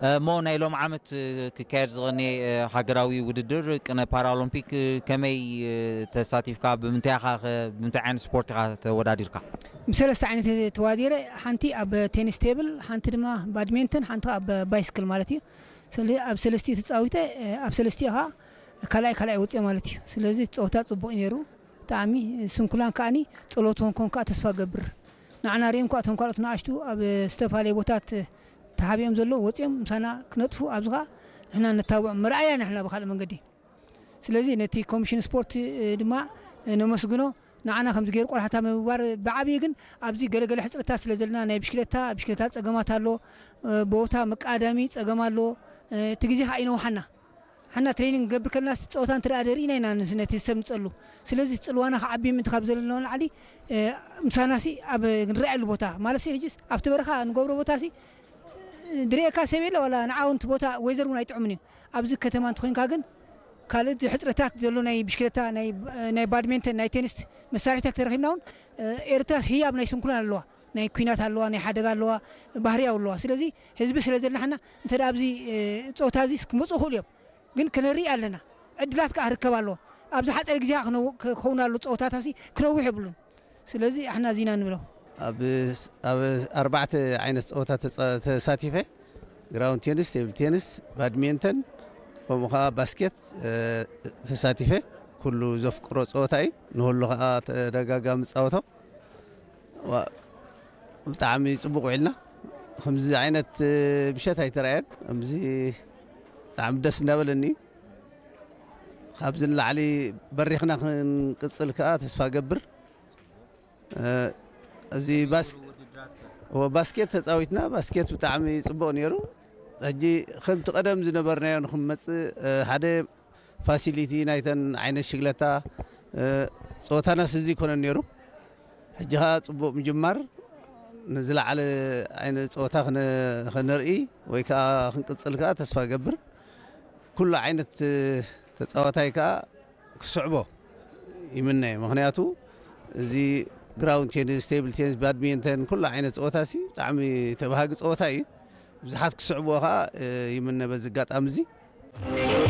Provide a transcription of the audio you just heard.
እሞ ናይ ሎም ዓመት ክካየድ ዝቐነየ ሃገራዊ ውድድር ቅነ ፓራኦሎምፒክ ከመይ ተሳቲፍካ? ብምንታይ ኢኻ ኸ፣ ብምንታይ ዓይነት ስፖርት ኢኻ ተወዳዲርካ? ብሰለስተ ዓይነት ተዋዲረ፣ ሓንቲ ኣብ ቴኒስ ቴብል፣ ሓንቲ ድማ ባድሜንተን፣ ሓንቲ ኣብ ባይስክል ማለት እዩ። ስለ ኣብ ሰለስቲኡ ተጻዊተ፣ ኣብ ሰለስቲኡ ኸኣ ካልኣይ ካልኣይ ወጽኦ ማለት እዩ። ስለዚ ጸወታ ጽቡቕ እዩ ነይሩ። ብጣዕሚ ስንኩላን ከኣኒ ጸሎት ሆንኮን ከኣ ተስፋ ገብር። ንዓና ርእዮም ከኣ እቶም ካልኦት ንኣሽቱ ኣብ ዝተፈላለየ ቦታት ተሓቢኦም ዘለዉ ወጺኦም ምሳና ክነጥፉ ኣብዚ ከኣ ንሕና ነታብዖም መርኣያ ኢና ንሕና ብኻልእ መንገዲ። ስለዚ ነቲ ኮሚሽን ስፖርት ድማ ነመስግኖ። ንዓና ከምዚ ገይሩ ቆላሕታ ምግባር ብዓብዪ ግን ኣብዚ ገለገለ ሕፅረታት ስለ ዘለና ናይ ብሽክለታ ብሽክለታ ፀገማት ኣሎ፣ ቦታ መቃዳሚ ፀገም ኣሎ። እቲ ግዜ ከዓ ይነውሓና ሓና ትሬኒንግ ገብር ከለና ጸወታ እንተ ደኣ ደሪእና ኢና ንስ- ነቲ ሰብ ንጸሉ። ስለዚ ጽልዋና ክዓቢ ምእንቲ ካብ ዘለና ንላዕሊ ምሳናሲ ኣብ ንረኣየሉ ቦታ ማለት ሕጅስ ኣብቲ በረኻ ንገብሮ ቦታሲ ድርእየካ ሰብ የለ ዋላ ንዓውንቲ ቦታ ወይዘር እውን ኣይጥዕምን እዩ። ኣብዚ ከተማ እንተኮይንካ ግን ካልእ ሕፅረታት ዘሎ ናይ ብሽክለታ ናይ ባድሜንተን ናይ ቴኒስ መሳርሒታት ተረኪብና እውን ኤርትራስ ህያብ ናይ ስንኩላን ኣለዋ። ናይ ኩናት ኣለዋ፣ ናይ ሓደጋ ኣለዋ፣ ባህርያዊ ኣለዋ። ስለዚ ህዝቢ ስለ ዘድናሕና እንተ ደኣ ኣብዚ ጾታ እዚ ክመፁ ይኽእሉ እዮም፣ ግን ክንርኢ ኣለና። ዕድላት ከዓ ክርከብ ኣለዎ። ኣብዚ ሓፂር ግዜ ከዓ ክነው- ክኸውን ኣሎ ጸወታታሲ ክነውሕ የብሉን። ስለዚ ኣሕና እዚና ንብሎ። ኣብ ኣብ ኣርባዕተ ዓይነት ጸወታ ተጻ- ተሳቲፈ፣ ግራውንድ ቴኒስ፣ ቴብል ቴኒስ፣ ባድሜንተን፣ ከምኡ ከዓ ባስኬት ተሳቲፈ። ኩሉ ዘፍቅሮ ጸወታ እዩ። ንሁሉ ከዓ ተደጋጋሚ ጻወቶ። ብጣዕሚ ፅቡቅ ውዒልና። ከምዚ ዓይነት ምሸት ኣይተረኣየን። ከምዚ ብጣዕሚ ደስ እንዳበለኒ። ካብዚ ንላዕሊ በሪኽና ክንቅፅል ከዓ ተስፋ ገብር። እዚ ባስኬት ተፃዊትና። ባስኬት ብጣዕሚ ፅቡቅ ነይሩ። ሕጂ ከምቲ ቀደም ዝነበርናዮ ንክንመፅእ ሓደ ፋሲሊቲ ናይተን ዓይነት ሽግለታ ፀወታናስ እዚ ይኮነን ነይሩ። ሕጂ ከዓ ፅቡቅ ምጅማር፣ ንዝለዓለ ዓይነት ፀወታ ክነርኢ ወይ ከዓ ክንቅፅል ከዓ ተስፋ ገብር። ኩሉ ዓይነት ተፃዋታይ ከዓ ክስዕቦ ይምነ። ምክንያቱ እዚ ግራውንድ ቴኒስ፣ ቴብል ቴኒስ፣ ባድሚንተን ኩሉ ዓይነት ፀወታ ሲ ብጣዕሚ ተባሃጊ ፀወታ እዩ። ብዙሓት ክስዕብዎ ከዓ ይምነ። በዚ ኣጋጣሚ እዚ